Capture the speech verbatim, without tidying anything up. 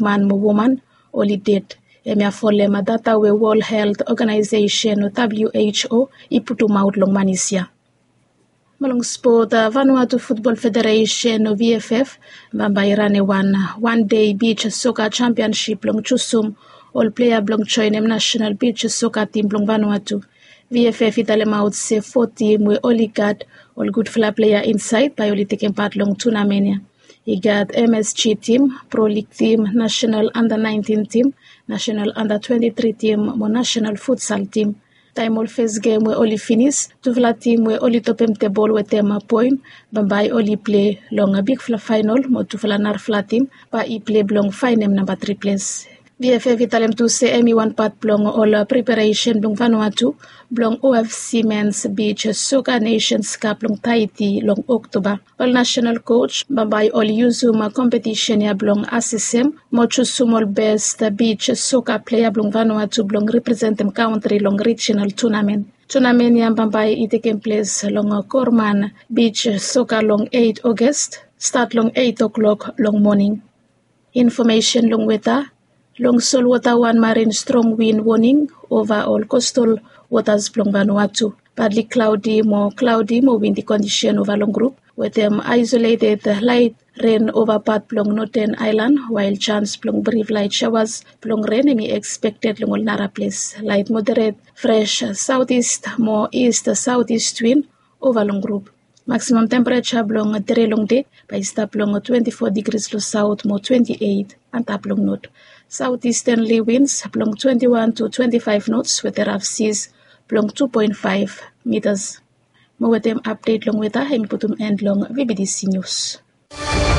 man mo woman oli ded. Hemia folem data we World Health Organization o WHO i putumaot long manis ya. Mo long spot, Vanuatu Futbol Federation o VFF bambae i ranem wan wan dei bij soka jampiansip blong jusum ol plea blong joenem nasenal bij soka tim blong Vanuatu. VFF i talemaot se fo tim we oli gat ol gudfala plea insaed bae oli tekem pat long tunamen ya. I gat MSG tim, Pro League tim, nasenal anda naentin tim, nasenal anda twenti tri tim mo nasenal futsal tim. Taem ol fes gem we oli finis, tufala tim we oli topem tebol wetem poen bambae oli plei long bigfala faenol mo tufala narafala tim bae i plei blong faenem namba tri ples. VFF i talem tu se hemi wan pat blong ol preparesen blong Vanuatu blong OFC Mens Bij Soka Nations Kap blong Taiti long Oktoba. Ol nasenal koj bambae oli yusum kompetisen ya blong asesem mo jusum ol bes bij soka plea blong Vanuatu blong representem kantri long rijinal tunamen. Tunamen ya bambae i tekem ples long Korman bij soka long eit Ogos, stat long eit o'klok long moning. Infomesen long weta. Long solwota wan marin strong win woning ova ol kostal wotas blong Vanuatu. Badli klaodi mo klaodi mo windi kondisen ova long grup wetem aisoleted laet ren ova pat blong Noten Aelan, wael jans blong brif laet saoas blong ren hemi ekspekted long ol naraples. Laet moderet fres saotis mo ist saotis win ova long grup. Maksimam tempereja blong dere long dei bae i stap long twenti fo digris long saot mo twenti eit antap long not. Saot istenli wins blong twenti wan tu twenti faef nots wetem raf sis blong tu poen faef mitas. Mo wetem apdet long weta hemi putum en long VBTC Nius.